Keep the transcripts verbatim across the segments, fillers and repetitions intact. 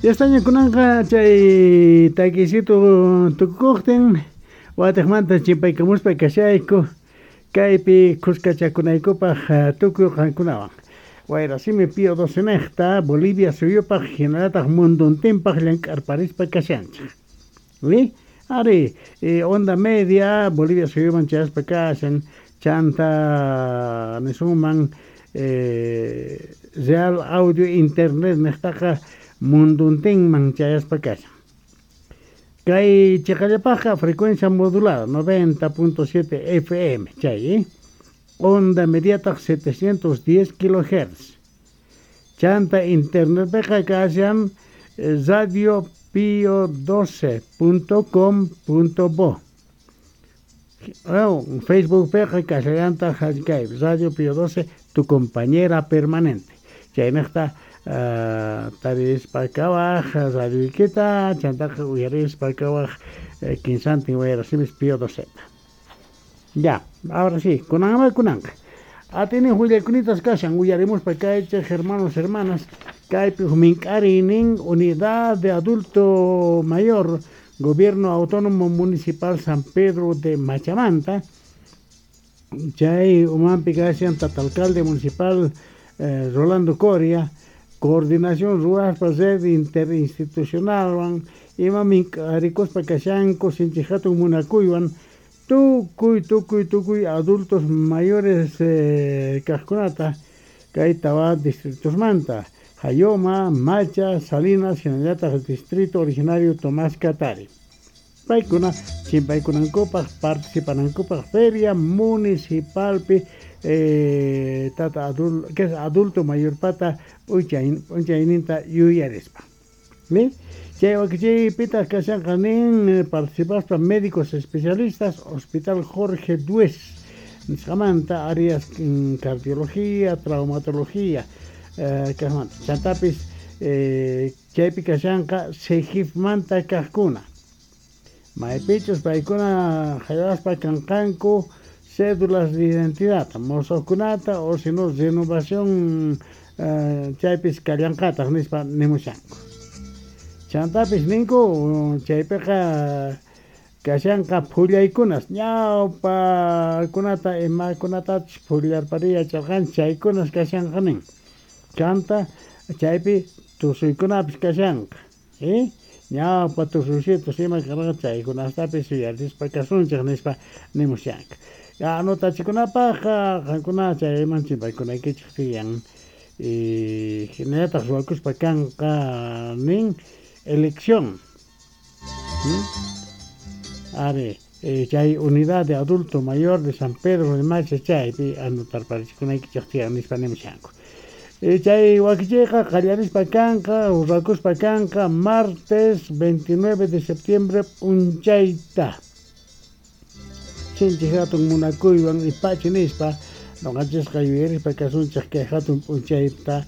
Yastaña kunanqa chay takisito tukukuqtin watiqmanta chimpaykamuspa kashayku kaypi khuskachakunaykupaq tukuy qankunawan. Wayrasimi Pío doce niqta Bolivia suyupaq hinallataq munduntinpaq llank'arparispa kashanchik. ¿Oui? Ari, eh, onda media Bolivia suyuman chayaspa kashan chanta nisunman eh, Real Audio Internet niqtaqa munduntinman chayaspa kashan. Kay chiqallapaqqa frecuencia modulada noventa punto siete F M chay, eh? Onda mediataq setecientos diez kilohertz. Chanta internetpiqa kashan radio pío doce punto com punto bo. Oh, Facebook piqa kashallantaq kay Radio Pío doce, tu compañera permanente. Chaynaqta Uh, tarispa kawaj radioykita chantaqa uyarispa kawaj eh, kinsantin wayrasimis Pío doce. Ya, ahora sí, kunanqa kunanqa. Atini willakunitas kashan uyarimuspa kaychej hermanos hermanas kaypi mink'arinin unidad de adulto mayor Gobierno Autónomo Municipal San Pedro de Machamanta chay umanpi kashan tata alcalde municipal eh, Rolando Coria coordinación ruaspa red interinstitucionalwan ima mink'arikuspa kashanku sinchi hatun munakuywan tukuy tukuy tukuy adultos mayores eh, kaqkunata kay tawa distritosmanta Jayoma, Macha, Salinas hinallataq distrito originario Tomás Katari paykuna chimpaykunankupaq participanankupaq feria municipalpi eh, tata adul, que es adulto mayor pata p'unchayninta yuyarispa. ¿Sí? Chay wakichiypitaq kashanqa nin participaspa médicos especialistas Hospital Jorge Duez nisqamanta áreas cardiología, traumatología eh, kaqmanta chantapis eh, chaypi kashanqa Sejifmanta kaqkuna maypichus paykuna haywaspa kanqanku cédulas de identidad mosoqkunata o si no renovación uh, chaypis kallanqataq nispa nimushanku. Chantapis ninku chaypiqa kashanqa phullaykunas ñawpakunata imakunatachus phullarpariya yacharqanchik chaykunas kashanqa nin. Chanta chaypi tusuykunapis kashanqa. ¿Eh? Ñawpa tusuysitos ima karqa chaykunastapis yuyarispa kasunchik nispa nimushanka. Anotachikunapaqqa qankuna chayman chimpaykunaykichik tiyan. Y hinallataq ruwakuspa kanqa nin elección. ¿Mm? Ari, eh, chay unidad de adulto mayor de San Pedro de Macha chaypi anotarparichikunaykichik tiyan nispa nimushanku. Eh, chay wakichiyqa qallarispa kanqa ruwakuspa kanqa martes veintinueve de septiembre p'unchayta. Sinchi hatun munakuywan ipachi nispa noqanchisqa yuyarispa kasunchik kay hatun p'unchayta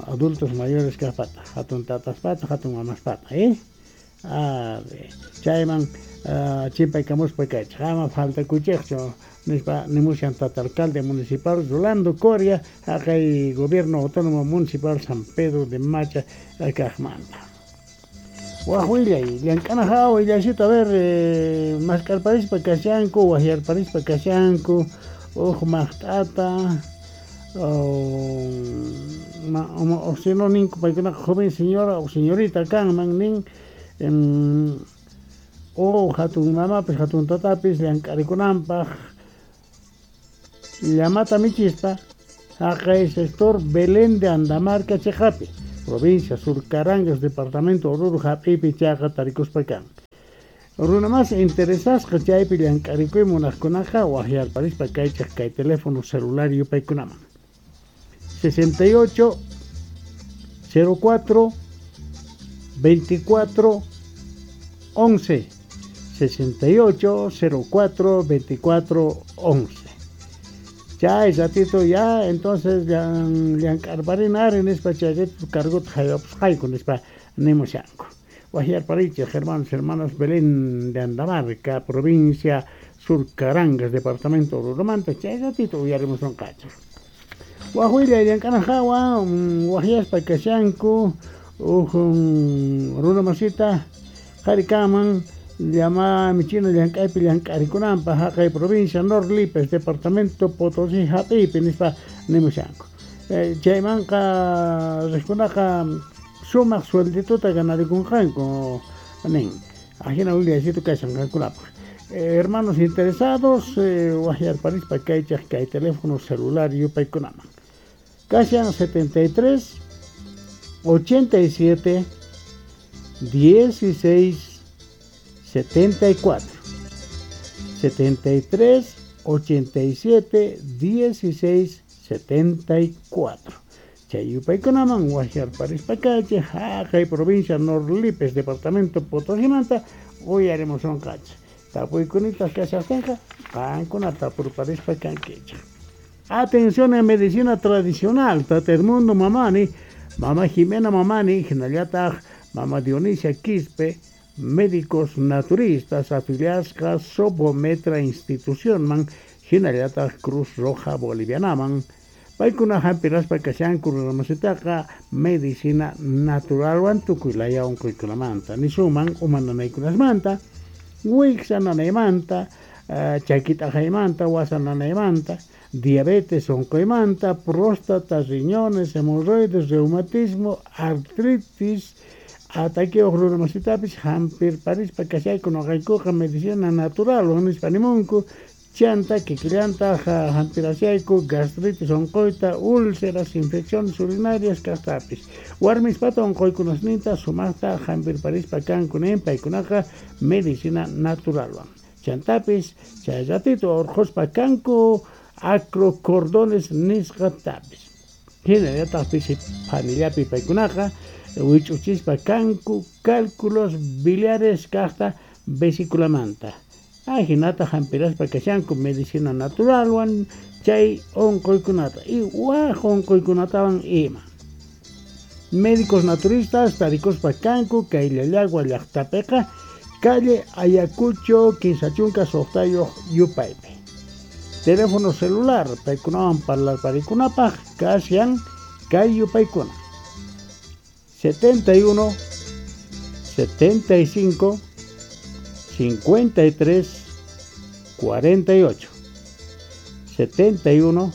adultos mayores kaqpata hatun tataspata hatun mamaspata eh ari chayman uh, chimpaykamuspa kaychik ama faltakuchikchu nispa nimushan tata alcalde municipal Rolando Coria haqay Gobierno Autónomo Municipal San Pedro de Macha kaqmanta. Waj willay llank'ana hawa willasito a ver eh, maskarparispa kashanku wahyarparispa kashanku uj maqt'ata o o si no ninku paykunaqa joven señora o señorita kanman nin em, o hatun mamapis hatun tatapis llank'arikunanpaq llamata michispa haqay sector Belén de Andamarca chiqapi provincia Sur Carangas, departamento Oruro hap'ipi chayqa tarikuspa kan. Runa mas interesasqa chaypi llank'arikuy munaqkunaqa wahyarparispa kaychik kay teléfono celular yupaykunaman sesenta y ocho cero cuatro veinticuatro once sesenta y ocho cero cuatro veinticuatro once. Chay ratito ya entonces llank'arparinari nispa chay ratito cargota haywapusqayku nispa nimushanku. Wahyarparichik hermanos hermanas Belén de Andamarca, provincia Sur Carangas, departamento Oruromanta, chay ratito uyarimusunqachik. Waj willay llank'ana hawa wahyaspa kashanku Ujun runa masita qhari kanman llama michina llank'aypi llank'arikunanpaq haqay provincia Nor Lípez departamento Potosí hap'iypi nispa nimushanku. Chaymanqa riqkunaqa sumaq sueldituta ganarikunqanku nin. Ajina willaysitu kashan qankunapaq. Hermanos interesados, waqyarparispa kaychaq kay teléfono celular yupaykunaman. Kashan setenta y tres, ochenta y siete, dieciséis, setenta y cuatro. setenta y tres, ochenta y siete, dieciséis, setenta y cuatro. Chay yupaykunaman waqyarparispa kaychaq haqay provincia Nor Lípez departamento Potosímanta uyarimusunqachik. Tapuykunitaq kashaqtinqa qankuna tapurparispa kankichik. Atención en medicina tradicional, Tata Edmundo Mamani, Mama Jimena Mamani, hinallataq Mama Dionisia Quispe, médicos naturistas afiliasqa Sobometra institucionman, hinallataq Cruz Roja Bolivianaman. Paykuna hampiraspa kashanku runamasitaqa medicina naturalwan tukuy laya unquykunamanta, nisuman uma nanaykunasmanta, wiksa nanaymanta, chaki t'aqaymanta, wasa nanaymanta, diabetes unquymanta, próstata, riñones, hemorroides, reumatismo, artritis, ataqueoj runamasitapis hampirparispa kashayku noqaykuqa medicina natural nispa nimunku. Chanta kikillantaq hampirashayku gastritis unquyta, úlceras, infecciones urinarias kaqtapis. Warmispata unquykunasninta sumaqta hampirparispa kanku nin paykunaqa medicina naturalwan. Chantapis chay ratito urquspa kanku acrocordones nisqatapis. Hinallataq pisi phanillapi paykunaqa wich'uchispa kanku cálculos biliares kaqta vesiculamanta. Ajinata hampiraspa kashanku medicina naturalwan chay unquykunata y waj unquykunatawan ima. Médicos naturistas tarikuspa kanku kay Llallagua llaqtapiqa calle Ayacucho kinsa chunka suqtayuq yupaypi. Teléfono celular paykunawan parlarparikunapaq kashan kay yupaykuna setenta y uno, setenta y cinco, cincuenta y tres, cuarenta y ocho, setenta y uno,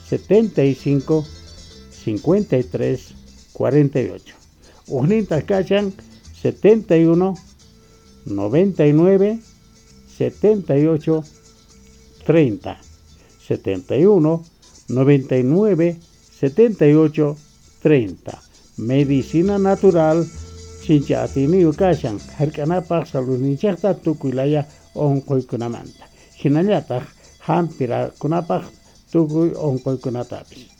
setenta y cinco, cincuenta y tres, cuarenta y ocho. Ujnintas kashan setenta y uno, noventa y nueve, setenta y ocho, treinta, setenta y uno, noventa y nueve, setenta y ocho, treinta. Medicina natural chincha atiniyu kashan hark'anapaq saludninchikta tukuy laya unquykunamanta, hinallataq hampirakunapaq tukuy unquykunatapis.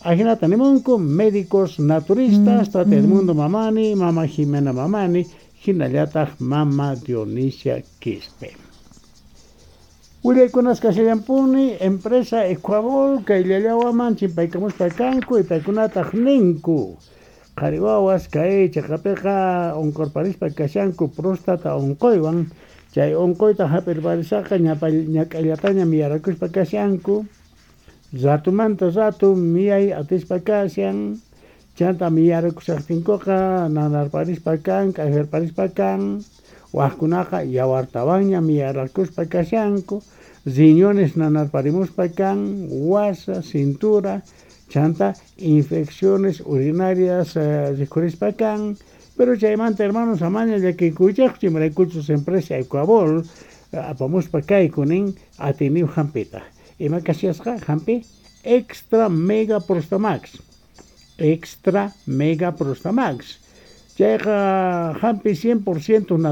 Ajinata nimunku médicos naturistas, Tata Edmundo Mamani, Mama Jimena Mamani, hinallataq Mama Dionisia Quispe. Willaykunas kashallampuni empresa Ecuabol kay Llallawaman chimpaykamuspa kanku y paykunataq ninku qhari wawas kay chaqapiqa unqurparispa kashanku próstata unquywan, chay unquyta hap'irparisaqa ñak'allataña miyarakuspa kashanku, ratumanta ratu miyay atispa kashan, chanta miyarakushaqtinkuqa nanarparispa kan, k'ajarparispa kan, wajkunaqa yawartawanña miyarakuspa kashanku, riñones nanarparimuspa kan, wasa, cintura, chanta infecciones urinarias rikhurispa kan. Pero chaymanta hermanos amaña llakikuychaqchu imaraykuchus empresa Ecuabol apamuspa kayku nin atiniw hampita. Ima kashasqa hampi extra mega prostamax, extra mega prostamax. Chayqa hampi cien por ciento natural.